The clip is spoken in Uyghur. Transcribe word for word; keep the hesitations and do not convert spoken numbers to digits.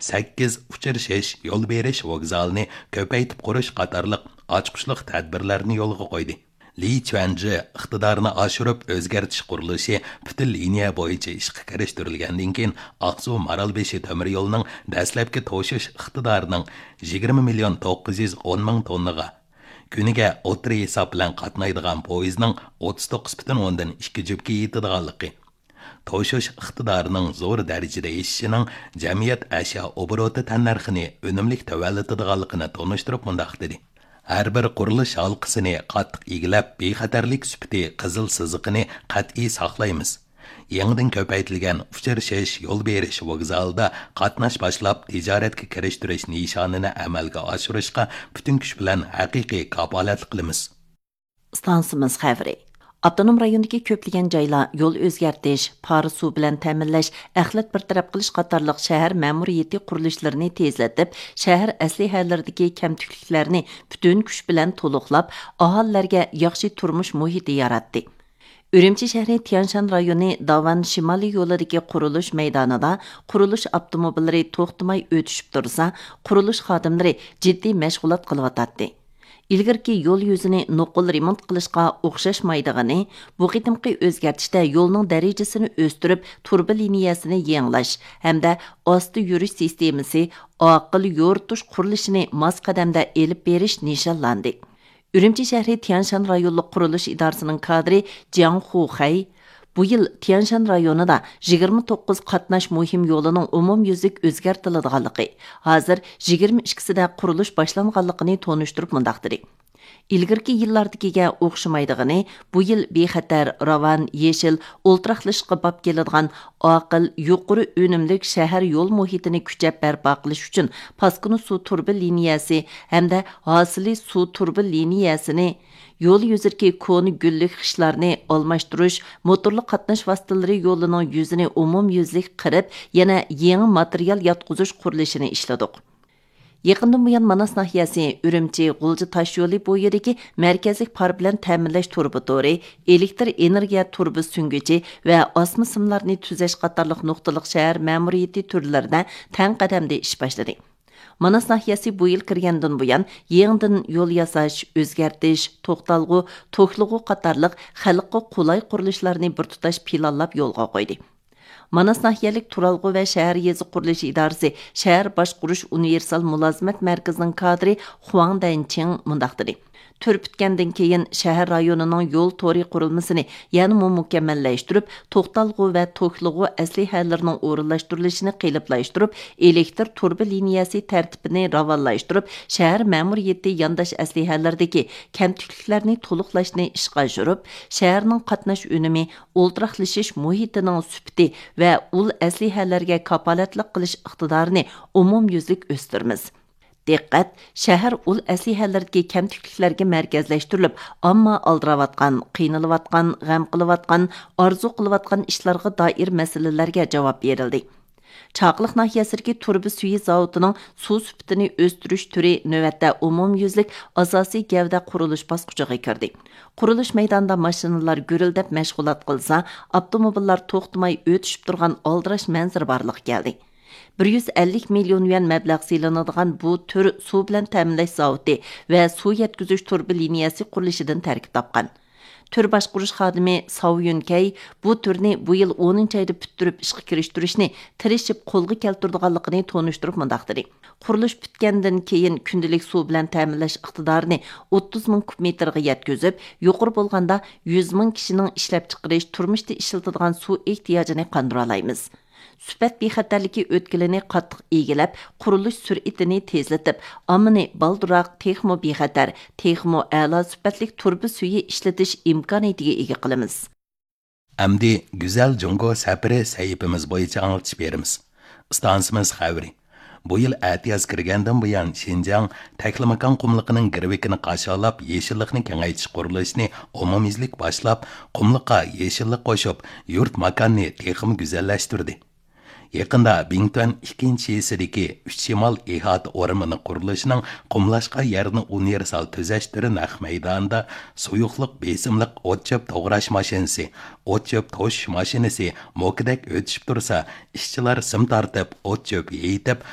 سەككىز ئۇچرىشىش، يول بېرىش ۋوگزالىنى كۆپەيتىپ قۇرۇش قاتارلىق ئاچقۇچلۇق تەدبىرلەرنى يولغا قويدى. لى چۈەنجى ئىقتىدارنى ئاشۇرۇپ ئۆزگەرتىش قۇرۇلۇشى پۈتۈن لىنىيە بويىچە ئىشقا كىرىشتۈرۈلگەندىن كېيىن، ئاقسۇ مارالبېشى تۆمۈر يولىنىڭ دەسلەپكى توشۇش ئىقتىدارىنىڭ يىگىرمە مىليون توققۇز يۈز ئون مىڭ توننىغا، كۈنىگە ئوتتۇرا ھېساب بىلەن قاتنايدىغان پويىزنىڭ ئوتتۇز توققۇز پۈتۈن ئوندىن ئىككى جۈپكە يېتىدىغانلىقى، توشۇش ئىقتىدارىنىڭ زور دەرىجىدە ئېشىشىنىڭ جەمئىيەت ئەشيا ئوبوروتى تەننەرخىنى ئۈنۈملۈك تۆۋەنلىتىدىغانلىقىنى تونۇشتۇرۇپ مۇنداق دېدى: ھەر بىر قۇرۇلۇش ھالقىسىنى قاتتىق ئىگىلەپ، بىخەتەرلىك سۈپىتى قىزىل سىزىقىنى قەتئىي ساقلايمىز. يېڭىدىن كۆپەيتىلگەن ئۇچرىشىش، يول بېرىش ۋوگزالىدا قاتناش باشلاپ، تىجارەتكە كىرىشتۈرۈش نىشانىنى ئەمەلگە ئاشۇرۇشقا پۈتۈن كۈچ بىلەن ھەقىقىي كاپالەتلىك قىلىمىز. ئىستانسىمىز خەۋىرى. ئاپتونوم رايوندىكى كۆپلىگەن جايلار يول ئۆزگەرتىش، پارە سۇ بىلەن تەمىنلەش، ئەخلەت بىر تەرەپ قىلىش قاتارلىق شەھەر مەمۇرىيىتى قۇرۇلۇشلىرىنى تېزلىتىپ، شەھەر ئەسلىھەلىرىدىكى كەمتۈكلۈكلەرنى پۈتۈن كۈچ بىلەن تولۇقلاپ، ئاھالىلەرگە ياخشى تۇرمۇش مۇھىتى ياراتتى. ئۈرۈمچى شەھىرى تيەنشان رايونى داۋان شىمالىي يولىدىكى قۇرۇلۇش مەيدانىدا قۇرۇلۇش ئاپتوموبىللىرى توختىماي ئۆتۈشۈپ تۇرسا، قۇرۇلۇش خادىملىرى جىددىي مەشغۇلات قىلىۋاتاتتى. ئىلگىرىكى يول يۈزىنى نوقۇل رېمونت قىلىشقا ئوخشاشمايدىغىنى، بۇ قېتىمقى ئۆزگەرتىشتە يولنىڭ دەرىجىسىنى ئۆستۈرۈپ، تۇرۇبا لىنىيەسىنى يېڭىلاش ھەمدە ئاستا يۈرۈش سىستېمىسى، ئاقىل يورۇتۇش قۇرۇلۇشىنى ماس قەدەمدە ئېلىپ بېرىش نىشانلاندى. ئۈرۈمچى شەھىرى تيەنشان رايونلۇق قۇرۇلۇش ئىدارىسىنىڭ كادىرى جياڭ خۇخەي بۇ يىل تيەنشان رايونىدا يىگىرمە توققۇز قاتناش مۇھىم يولىنىڭ ئومۇميۈزلۈك ئۆزگەرتىلىدىغانلىقى، ھازىر يىگىرمە ئىككىسىدە قۇرۇلۇش باشلانغانلىقىنى تونۇشتۇرۇپ مۇنداق دېدى: ئىلگىرىكى يىللاردىكىگە ئوخشىمايدىغىنى، بۇ يىل بىخەتەر، راۋان، يېشىل، ئولتۇراقلىشىشقا باب كېلىدىغان ئاقىل، يۇقىرى ئۈنۈملۈك شەھەر يول مۇھىتىنى كۈچەپ بەرپا قىلىش ئۈچۈن پاسكىنا سۇ تۇرۇبا لىنىيەسى ھەمدە ھاسىلى سۇ تۇرۇبا لىنىيەسىنى، يول يۈزىدىكى كونا گۈللۈك خىشلارنى ئالماشتۇرۇش، موتورلۇق قاتناش ۋاسىتىلىرى يولىنىڭ يۈزىنى ئومۇميۈزلۈك قىرىپ، يەنە يېڭى ماتېرىيال ياتقۇزۇش قۇرۇلۇشىنى ئىشلىدۇق. يېقىندىن بۇيان ماناس ناھىيەسى ئۈرۈمچى غۇلجا تاشيولى بويىدىكى مەركەزلىك پار بىلەن تەمىنلەش تۇرۇبا تورى، ئېلېكتر ئېنېرگىيە تۇرۇبا سۈڭگۈچى ۋە ئاسما سىملارنى تۈزەش قاتارلىق نۇقتىلىق شەھەر مەمۇرىيىتى تۈرلىرىدە تەڭ قەدەمدە ئىش باشلىدى. ماناس ناھىيەسى بۇ يىل كىرگەندىن بۇيان، يېڭىدىن يول ياساش، ئۆزگەرتىش، توختالغۇ، توكلىغۇ قاتارلىق خەلققە قولاي قۇرۇلۇشلارنى بىر تۇتاش پىلانلاپ يولغا قويدى. ماناس ناھىيەلىك تۇرالغۇ ۋە شەھەر يېزا قۇرۇلۇشى ئىدارىسى شەھەر باشقۇرۇش ئۇنىۋېرسال مۇلازىمەت مەركىزىنىڭ كادىرى خۇاڭ دەنچىڭ مۇنداق دېدى: تۈر پۈتكەندىن كېيىن، شەھەر رايونىنىڭ يول تورى قۇرۇلمىسىنى يەنىمۇ مۇكەممەللەشتۈرۈپ، توختالغۇ ۋە توكلىغۇ ئەسلىھەلىرىنىڭ ئورۇنلاشتۇرۇلۇشىنى قېلىپلاشتۇرۇپ، ئېلېكتر تۇرۇبا لىنىيەسى تەرتىپىنى راۋانلاشتۇرۇپ، شەھەر مەمۇرىيىتى يانداش ئەسلىھەلىرىدىكى كەمتۈكلۈكلەرنى تولۇقلاشنى ئىشقا ئاشۇرۇپ، شەھەرنىڭ قاتناش ئۈنۈمى، ئولتۇراقلىشىش مۇھىتىنىڭ سۈپىتى ۋە ئۇل ئەسلىھەلەرگە كاپالەتلىك قىلىش ئىقتىدارىنى ئومۇميۈزلۈك ئۆستۈرىمىز. دىققەت! شەھەر ئۇل ئەسلىھەلىرىدىكى كەمتۈكلۈكلەرگە مەركەزلەشتۈرۈلۈپ، ئامما ئالدىراۋاتقان، قىينىلىۋاتقان، غەم قىلىۋاتقان، ئارزۇ قىلىۋاتقان ئىشلارغا دائىر مەسىلىلەرگە جاۋاب بېرىلدى. چاقىلىق ناھىيەسىدىكى تۇرۇبا سۈيى زاۋۇتىنىڭ سۇ سۈپىتىنى ئۆستۈرۈش تۈرى نۆۋەتتە ئومۇميۈزلۈك ئاساسىي گەۋدە قۇرۇلۇش باسقۇچىغا كىردى. قۇرۇلۇش مەيدانىدا ماشىنىلار گۈرۈلدەپ مەشغۇلات قىلسا، ئاپتوموبىللار توختىماي ئۆتۈشۈپ تۇرغان ئالدىراش مەنزىرە بارلىققا كەلدى. بىر يۈز ئەللىك مىليون يۈەن مەبلەغ سېلىنىدىغان بۇ تۈر سۇ بىلەن تەمىنلەش زاۋۇتى ۋە سۇ يەتكۈزۈش تۇرۇبا لىنىيەسى قۇرۇلۇشىدىن تەركىب تاپقان. تۈر باشقۇرۇش خادىمى ساۋ يۈنكەي بۇ تۈرنى بۇ يىل ئونىنچى ئايدا پۈتتۈرۈپ ئىشقا كىرىشتۈرۈشنى تىرىشىپ قولغا كەلتۈرىدىغانلىقىنى تونۇشتۇرۇپ مۇنداق دېدى: قۇرۇلۇش پۈتكەندىن كېيىن، كۈندىلىك سۇ بىلەن تەمىنلەش ئىقتىدارىنى ئوتتۇز مىڭ كۇب مېتىرغا يەتكۈزۈپ، يۇقىرى بولغاندا يۈز مىڭ كىشىنىڭ ئىشلەپچىقىرىش، تۇرمۇشتا ئىشلىتىدىغان سۇ ئېھتىياجىنى قاندۇرالايمىز. سۈپەت بىخەتەرلىكى ئۆتكىلىنى قاتتىق ئىگىلەپ، قۇرۇلۇش سۈرئىتىنى تېزلىتىپ، ئاممىنى بالدۇرراق، تېخىمۇ بىخەتەر، تېخىمۇ ئەلا سۈپەتلىك تۇرۇبا سۈيى ئىشلىتىش ئىمكانىيىتىگە ئىگە قىلىمىز. ئەمدى گۈزەل جۇڭگو سەپىرى سەھىپىمىز بويىچە ئاڭلىتىش بېرىمىز. ئىستانسىمىز خەۋىرى. بۇ يىل ئەتىياز كىرگەندىن بۇيان، شىنجاڭ تەكلىماكان قۇملۇقىنىڭ گىرۋىكىنى قاشالاپ، يېشىللىقنى كېڭەيتىش قۇرۇلۇشىنى ئومۇميۈزلۈك باشلاپ، قۇملۇققا يېشىللىق قوشۇپ، يۇرت ماكاننى تېخىمۇ گۈزەللەشتۈردى. يېقىندا بىڭتۈەن ئىككىنچى شىسىدىكى ئۈچ شىمال ئىھاتە ئورمىنى قۇرۇلۇشىنىڭ قۇملاشقان يەرنى ئۇنىۋېرسال تۈزەش تۈرى نەق مەيدانىدا سۇيۇقلۇق بېسىملىق ئوت چۆپ توغراش ماشىنىسى، ئوت چۆپ توشۇش ماشىنىسى موكىدەك ئۆتۈشۈپ تۇرسا، ئىشچىلار سىم تارتىپ، ئوت چۆپ يېيىتىپ،